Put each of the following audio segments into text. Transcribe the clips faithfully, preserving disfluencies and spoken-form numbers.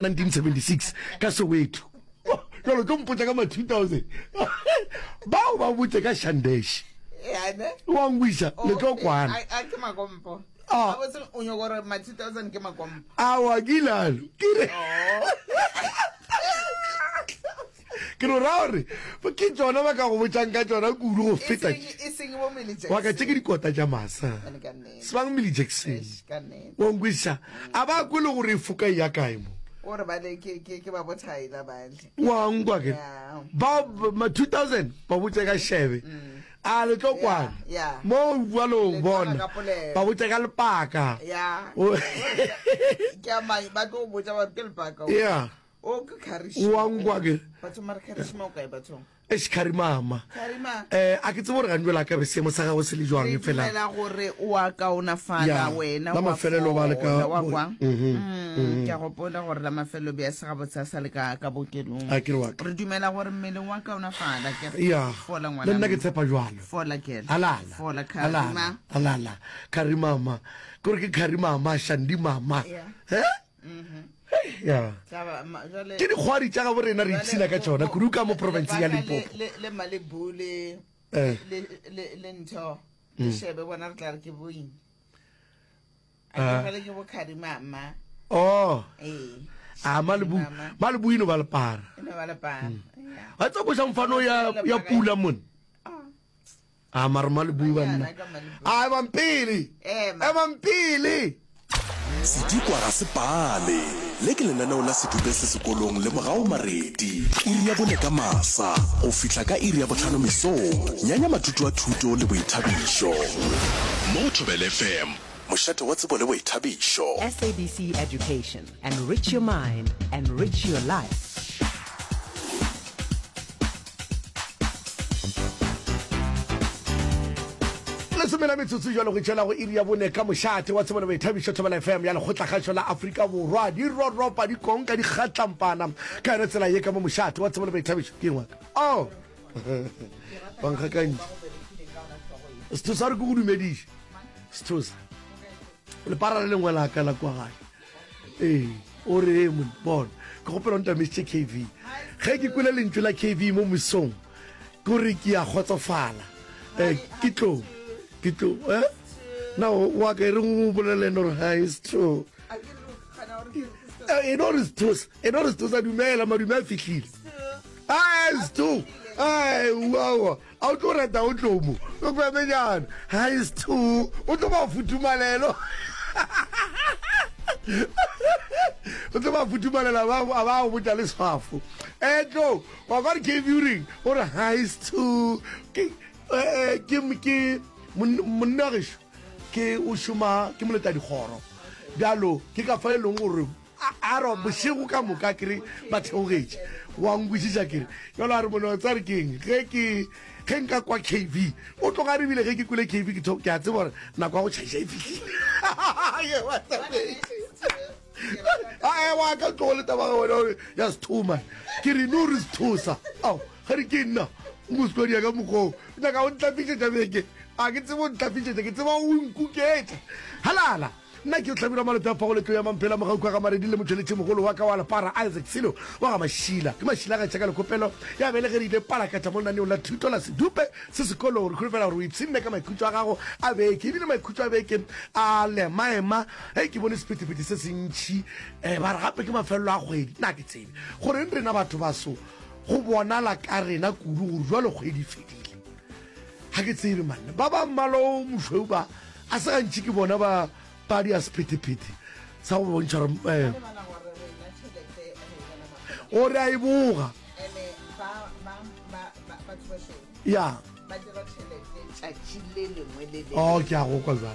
nineteen seventy six ka Soweto. Jalo tlo mpotsa ka ma two thousand. Bao ba botse ka Shandesh. Wa ngwisa le tlo kwana. A ke makompo. Ah. Gabotse o nyoko gore ma two thousand ke makompo. Awa ke ilalo. Ke re. Ke no ra gore ke tšona ba ka go botšang ka tšona kudu go feta. E seng bo Millie Jackson. Wa ka tše ke dikota tša masa. Sebang Millie Jackson. Wa nkwešiša? A ba kwe le gore e foka e ya kae mo. O re bale ke ke ke ba bo Tyler bale. Wa nkwa ke. Ba ma two thousand ba botse ka shebe. A le tlo kwana. Mo bua lo bona. Ba botse ka lepaka. Ya. Ke a mai ba tlo botsa ba ke lepaka. Ya. O ke Karishma. Wa nkwa ke. Batho mara Karishma o kae bathong? Eish Karimama. Karima. Eh a ke tsebe gore gantši la ka be seemo sa gagwe se le jwang Re fela. dumela gore o a kaonafala Ya, wena la wa mafelelo ba le ka fola, wa bo- kwa. Mhm, Mm, ke a gopola gore la mafelelo be a se gabotse a sa le ka ka bookelong. A ke re wa ka. Re dumela gore mmele wa kaonafala ke Ya. fola Le ngwana. nna ke tshepa jwalo. Fola girl. Alala. Fola Alala. Karima. Alala. Karimama. Ke gore ke Karimama, Shandi mama. Ya. Eh? Ya. Tla ma- jwale- Ke dikgwari tša gabo rena re jwale ipshina ka bo- tšona bo- kudu ka mo province ya lebaka le- Limpopo. le le Malibu le Eh. le le le ntho le shebe bona re tla re ke boing. A ke Ah. fela ke bo Karimama. Oh. Ee. A Malibu, Mama. Malibu ino ba lepara. E no ba lepara. Ya. Wa tseba koša mfano ya ya pula mone. Ah. A mara Malibu banna. Banyana ka Malibu. A emang pele. Ema. Emang pele. Sedikwa ga se pale. Le ke lenaneo la Sedupe se sekolong le Mogau Maredi. Iri ya bone ka masa go fihla ka iri ya bohlano mesong. Nyanya matutu a thuto le boithabišo. Mo go Thobela F M, mošate wa tsebo le boithabišo. S A B C Education. Enrich your mind, enrich your life. Lesome la metsotso jalo go tšwela go iri ya bone ka mošate wa tsebo le boithabišo Thobela F M ya Lekgotlakgašo la Afrika Borwa. Di roropa, di konka, di kgatlampana ka yona tsela ye ka mo mošate wa tsebo le boithabišo. Ke eng wa ka? Oh! Bankgakantši. Sethosa re ke go dumediše. Sethosa. Lepara le lengwe la ka la kwa gae. Ee, o re e monna, bona. Ke kgopela o ntamišitše K V. Ge ke kwele lentšu la K V mo mesong, ke gore ke a kgotsofala. Eh, ke tlo, ke tlo, eh? Na o, wa ka e reng o bolele ene gore hi, Setho? Eh, e no re Sethosa, e no re Sethosa, dumela, madume a fihlile. Ai, Setho, ai, uawa, a o tlo reta o tlo mo. O kwemenyana. Hi, Setho, o tlo ba futhumalelo. O tlo ba futhumalela, ba, a ba go botša le sefafo. Eh, tlo, wa kwa re K V o reng? O re, hi, Setho. Ke, eh, ke, ke, mon-, monna gešo, ke o šoma, ke moletadikgoro. Bjalo, ke ka fa e leng gore, a, a re bošego ka moka ke re ba theogetše. Wa nkwešiša ke re. Jwalo a re monna wa tseba re ke eng? Ge ke, ge nka kwa K V, o tloga re bile ge ke kwele K V, ke tho-, ke a tseba gore nako ya go tšhaiša e fihlile. A, e, wa ka tlogo le taba ga wena gore ya sethoma. Ke re, no re sethosa. Ao, ge re ke nna, mosadi ya ka mokgwa o. Nyaka o ntlafišetša beke. A ke tsebe o ntlafišetša, ke tseba o nkuketša. Halala. Nna ke Hlabirwa Malope a Fago Letlo ya Mamphela Mogauku wa ga Maredi le motšweletši mogolo wa ka wa lepara Isaac Silo wa ga Mašila. Ke Mašila ga tšaka lekopelo ya belegerile palakatša mo lenaneong la thuto la Sedupe se sekolong. Re holofela gore o ipshinne ka maikhutšo a gago a beke. Ebile maikhutšo a beke a lemaema. Hei, ke bone sephethephethe se sentši. Eh, ba re gape ke mafelelo a kgwedi. Nna ke tsebe goreng rena batho ba so go bonala ka rena kudu gore jwale kgwedi e fedile. Ga ke tsebe manna. Ba ba mmala o mošweu ba a se gantši ke bona ba ba di a sephethephethe sa go bontšha gore, eh, o re a e boga. Ya. Oh, ke a go kwa jwale.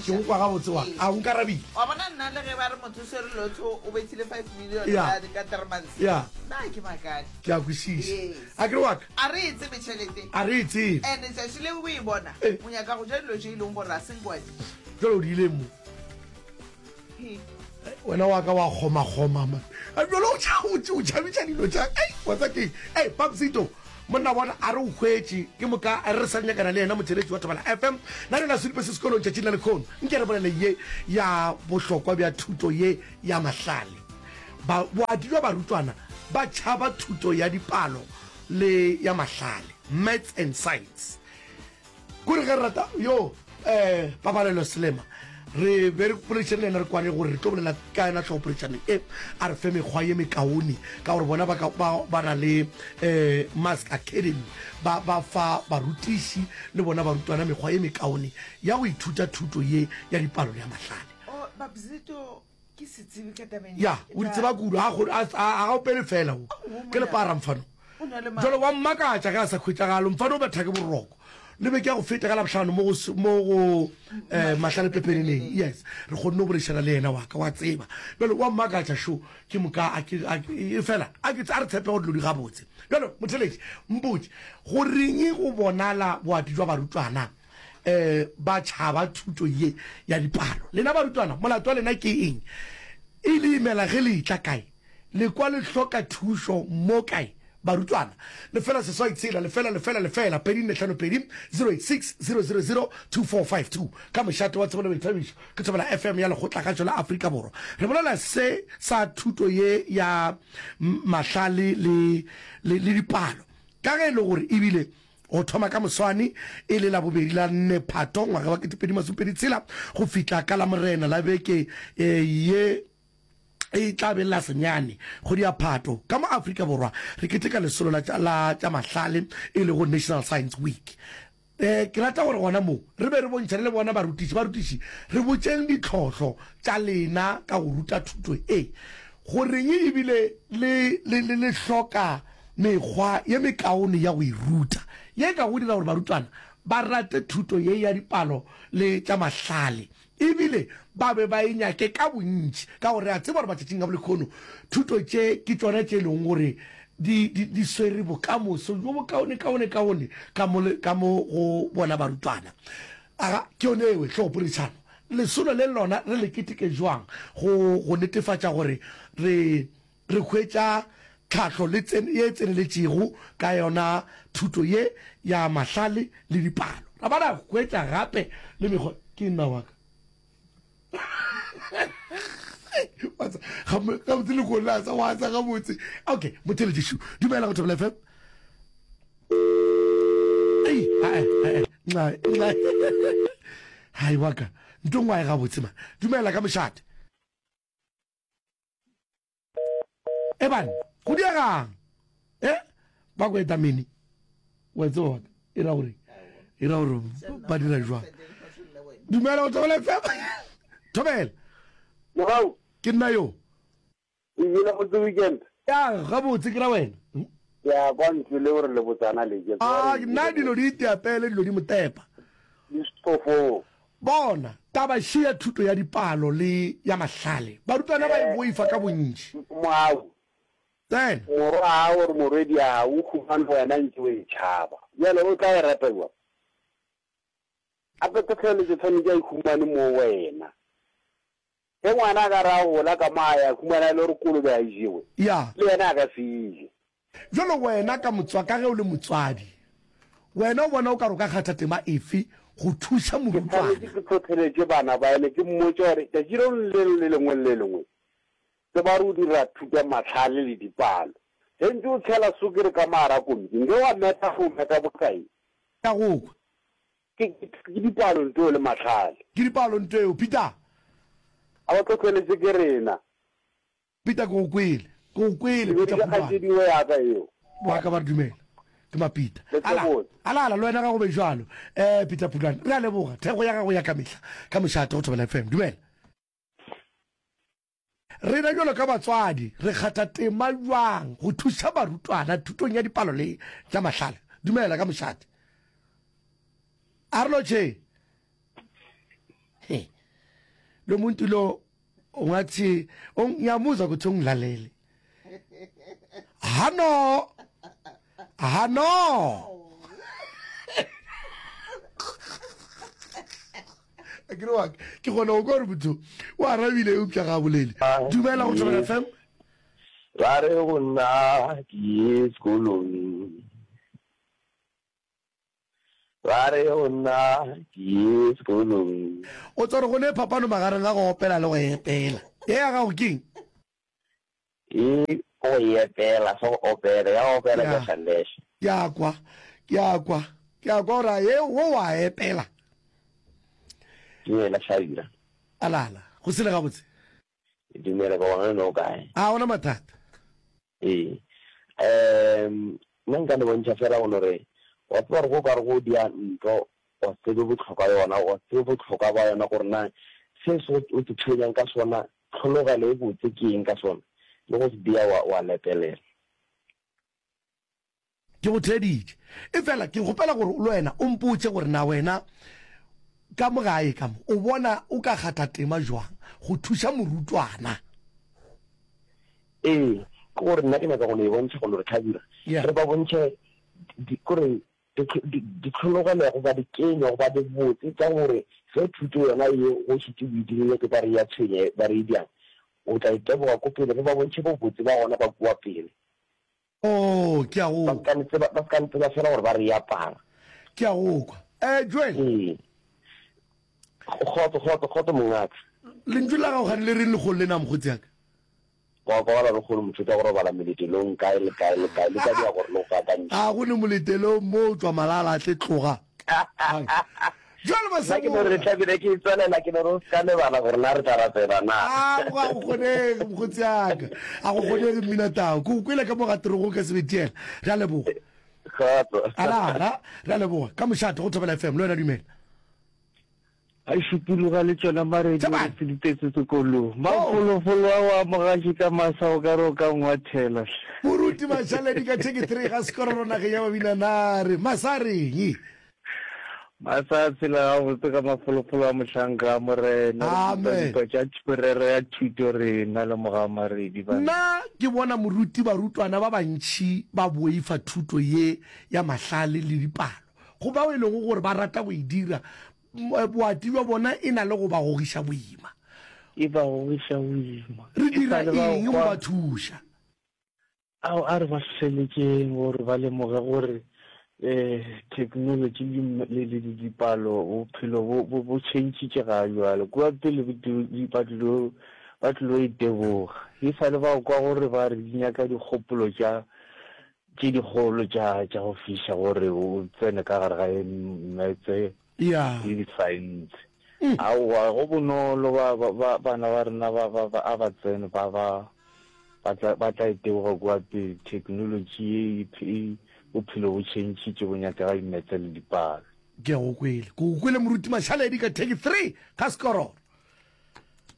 Ke go kwa gabotse wa. A o nkarabile. Wa bona nna le ge ba re motho o swere lotho o bethile five million Ya. ka, ka three months. Ya. Nna ke makadi. Ke a kwešiša. Yes. A ke re wa ka? A re e tsebe tšhelete. A re e tsebe. And tšatši le o e bona, Eh. o nyaka go ja dilo tše e leng gore a se nke wa di ja. Jwale o di ile mo. He. Wena wa ka wa kgoma-kgoma, man. A jwale o tša-, o tša-, o tšhabetša dilo tša, ei, wa tseba ke eng? Ei, Papsito, monna bona a re o hwetše, ke moka a re re sa nyakana le yena motšheletši wa Thobela F M. Na le la Sedupe se sekolong tšatšing la lekgono. Nke re bolele ye ya bohlokwa bja thuto ye ya mahlale. Ba, boati bja barutwana ba tšhaba thuto ya dipalo le ya mahlale, Maths and Science. Kore ge re rata yo eh, Pabalelo Selema, re be re poledišane le yena re kwane gore re tlo bolela ka yona tlhogopoledišanong e, a re fe mekgwa ye mekaone ka gore bona ba, ka, ba, ba na le eh, Mask Academy, ba, ba fa barutiši le bona barutwana mekgwa ye mekaone ya go ithuta thuto ye ya dipalo le ya mahlale. Oh, Babzito ke setsebi ka tabeng Ya, o di tseba kudu, a a, a, a opele fela o. Ke lepara mfano. Jalo wa mmakatša ge a sa khwetšagalo, mfano o betha ke boroko. Le beke ya go feta ka Labohlano mo go mo go eh, Mahlale Pepeneneng. Yes, re kgonne go boledišana le yena wa ka, wa tseba. Bjalo wa mmakatša šo, ke moka a ke a e fela a ke a re tshepe gore dilo di gabotse. Bjalo motheletši, mpotše, go reng go bonala boati jwa barutwana eh ba tšhaba thuto ye ya dipalo? Lena barutwana, molato wa lena ke eng? E le imela ge le etla kae? Le kwa le hloka thušo mo kae? Barutwana, lefela seswai tshela, lefela, lefela, lefela, pedi nne hlano pedi, zero eight six, zero zero zero, two four five two. Ka mošate wa tsebo le boithabišo, ke Thobela F M ya Lekgotlakgašo la Afrika Borwa. Re bolela se sa thuto ye ya mahlale le, le, le dipalo. Ka ge e le gore ebile go thoma ka moswane e le Labobedi la nne Phato ngwaga wa ketepedi masomepedi tshela go fihla ka Lamorena la beke ye e tla be la senyane kgwedi ya Phato, ka mo Afrika Borwa re keteka lesolo la la tša mahlale e lego National Science Week. Eh, ke rata gore gona mo re be re bontšhane le bona barutiši. Barutiši, re botšeng ditlhohlo tša lena ka go ruta thuto e. Goreng ebile le, le, le, le hloka mekgwa ye mekaone ya go e ruta, ye e ka go dira gore barutwana ba rate thuto ye ya dipalo le tša mahlale ebile ba be ba e nyake ka bontši, ka gore re a tseba gore matšatšing a bolehono thuto tše ke tšona tše e lego gore di, di, di swere bokamoso bjo bokaonekaonekaone ka mo, ka mo go bona barutwana. Aga, ke yone ewe hlogopoledišano. Lesolo le lona re le keteke bjang go, go netefatša gore re, re hwetša tlhahlo le tsen, ye e tseneletšego ka yona thuto ye ya mahlale le dipalo. Ra ba ra hwetša gape le mekgwa. Ke nna wa ka. Gabotse le kgone sa wa sa gabotse. Okay, motheletši, dumela go Thobela F M. Ei, ae, ae, nxa, nxa. Hai wa ka, nto ngwae gabotse ma. Dumela ka mošate. Eban, go diegang? Eh, ba go eta mene. Wa tseba wa ka, e ra gore, e ra gore ba dira jwang. Dumela go Thobela F M. Thobela. Mogau. Ke nna yo. O ile gabotse weekend? Ya, gabotse ke ra wena. Ya, kwa ntlo le gore le botsana le ke. Ah, nna dilo di iteapele, dilo di motepa. Di stofo. Bona, taba še ya thuto ya dipalo le ya mahlale, barutwana ba e boifa ka bontši. Mogau. Tsena. Morwa wa gago gore morwedi ya gago o humane wena ntše o e tšhaba. Bjale o tla e rata bjang? Gape tlhohleletšo tshwanetše a e humane mo wena. Ge ngwana a ka re a gola ka mo a ya humana e le gore kolobe ga e jewe, Ya. le yena a ka se e je. Bjalo wena ka motswa, ka ge o le motswadi, wena o bona o ka re o ka kgatha tema efe go thuša Ke morutwana? tshwanetše ke tlhohleletše bana ba ene, ke mmotše gore tšatši le lengwe le lengwe le le lengwe tseba gore o dira thuto ya mahlale le dipalo. Ge ntše o tshela sukiri ka mo gare ga komiki, nke wa meta gore o meta bokae? Ke a go kwa. Ke, ke, ke dipalo ntweo le mahlale. Ke dipalo ntweo, Peter. A ba tlhohleletše ke rena. Peter, ke go kwele. Ke go kwele, Ke Peter beditše Khulwane. kgaetšedi we ya ka eo. Wa ka ba re dumela. Ke Mapita. Le Ala, tlebotse. ala, ala, le wena ga go be bjalo. Eh, Peter Phulwane, re a leboga. Thekgo ya gago ya ka mehla. Ka mošate go Thobela F M. Dumela. Rena bjalo ka batswadi re kgatha tema bjang go thuša barutwana thutong ya dipalo le tša mahlale? Dumela ka mošate. A re lotšhe. He. Lo muntu lo ungathi ngiyamuzwa ukuthi ungilalele. Hano. Hano. Ke re wa ka, ke kgona go kwa gore motho o arabile eupša ga a bolele. Dumela go Thobela F M. Ba re go nna ke ye sekolong. Ba re go nna ke ye sekolong. O tswa gore go ne phapano magareng ga go opela le go epela. Ye ya gago ke eng? E go e epela, se go opela, ya opela Ya. ke Shandesh. Ke a kwa, ke a kwa, ke a kwa gore a ye wo wa epela. Dumela Hlabira. Alala, go sele gabotse. Dumela ka bona no kae. A gona mathata. Ee. Um nna nka le bontšha fela go no re wa tseba gore go ka re go dia ntlo wa se tsebe bohlokwa yona, wa se tsebe bohlokwa ba yona gore na se se o te tshwenyang ka sona, tlhologelo e botse ke eng ka sona, le go se dia wa, wa lepelela. Ke go theeditše. Efela ke kgopela gore le wena o mpotše gore na wena ka mo gae ka mo o bona o ka kgatha tema jwang go thuša morutwana. Ee, ke gore nna ke nyaka go no e bontšha go no re Hlabirwa, Yeah. re ba bontšhe di, kore ditlhologelo goba dikenywa goba dibotse tša gore ge thuto yona ye go šetše o e dirile ke ba re ya tshwenya ba re e bjang, o tla iteboga ko pele, re ba bontšhe bobotse ba gona ba kua pele. Oh, ke a go Ba kwa. ska ntseba, ba ska ntseba fela gore ba re e apara. Ke a go kwa. Eh, Joel. Ee. Kgotso, kgotso, kgotso mongaka. Lentšu la gago gane le reng lekgolo lena mokgotsi ya ka? Wa kwagala lekgolo motho tša go robala meletelong kae le kae le kae le ka dia gore le go gakantšhe. A go ne moletelong mo o tšwa malala a tle tloga. Jwale Nna ke no re Masemola. tla bile ke tswelela ke no re o ska lebala gore na re tla rapela na. A go ga go kgonege mokgotsi ya ka. A go kgonege mmina tao. Ke go kwele ka mo ga torogo ka sebetiela. Re a leboga. Kgotso. Ala ala re a leboga. Ka mošate go Thobela F M le wena dumela. A šupologa le tšona maredi Tšhabang. gore se di tetse sekolong. Oh. Mafolofolo ao a mogaši ka masa o ka re o ka ngwathela hle. Moruti Mašaledi ka theke three ga sekororo nageng ya Babinanare. Masa a reng? Masa a tshela gabotse ka mafolofolo a mohlanka a Morena. Re Amen. dupa dupa tša merero ya thuto rena le moga Maredi banna. Nna ke bona moruti barutwana ba bantši ba boifa thuto ye ya mahlale le dipalo. Go bao e lego gore ba rata go e dira, boati bja bona e na le go ba gogiša boima. E ba gogiša boima. Re E dira sa le ba eng go kwa ba thuša? Ao a re ba hlohleletšeng gore ba lemoge gore eh technology le le le dipalo bophelo bo bo bo tšhentšhitše ga jwale. Kua pele ba tlilo ba tlilo iteboga. E sa le ba kwa gore ba re di nyaka dikgopolo tša tše dikgolo tša tša go fiša gore o tsene ka gare ga metse Ya. le di-science. Aowa go bonolo ba ba ba bana ba rena ba ba ba a ba tsene ba ba ba tla ba tla iteboga kua pele. Technology ye e bophelo bo tšhentšhitše bo nyaka dimetse le dipalo. Ke go kwele. Ke go kwele moruti Mašaledi ka theke three ga sekororo.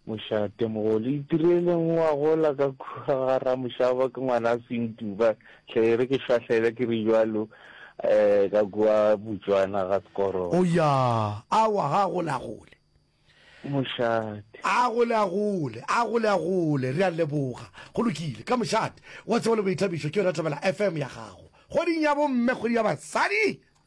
Mošate mogolo itireleng wa gola ka kua ga Ramošaba ke ngwana Sentuba hle re ke šwahlele ke re jwalo eh ka kua Botswana ga sekororo. O ya, awa ga gole a gole. Mošate. A gole a gole, a gole a gole, re a leboga. Go lokile, ka mošate wa tsebo le boithabišo ke yona Thobela F M ya gago. Kgweding ya bomme, kgwedi ya basadi.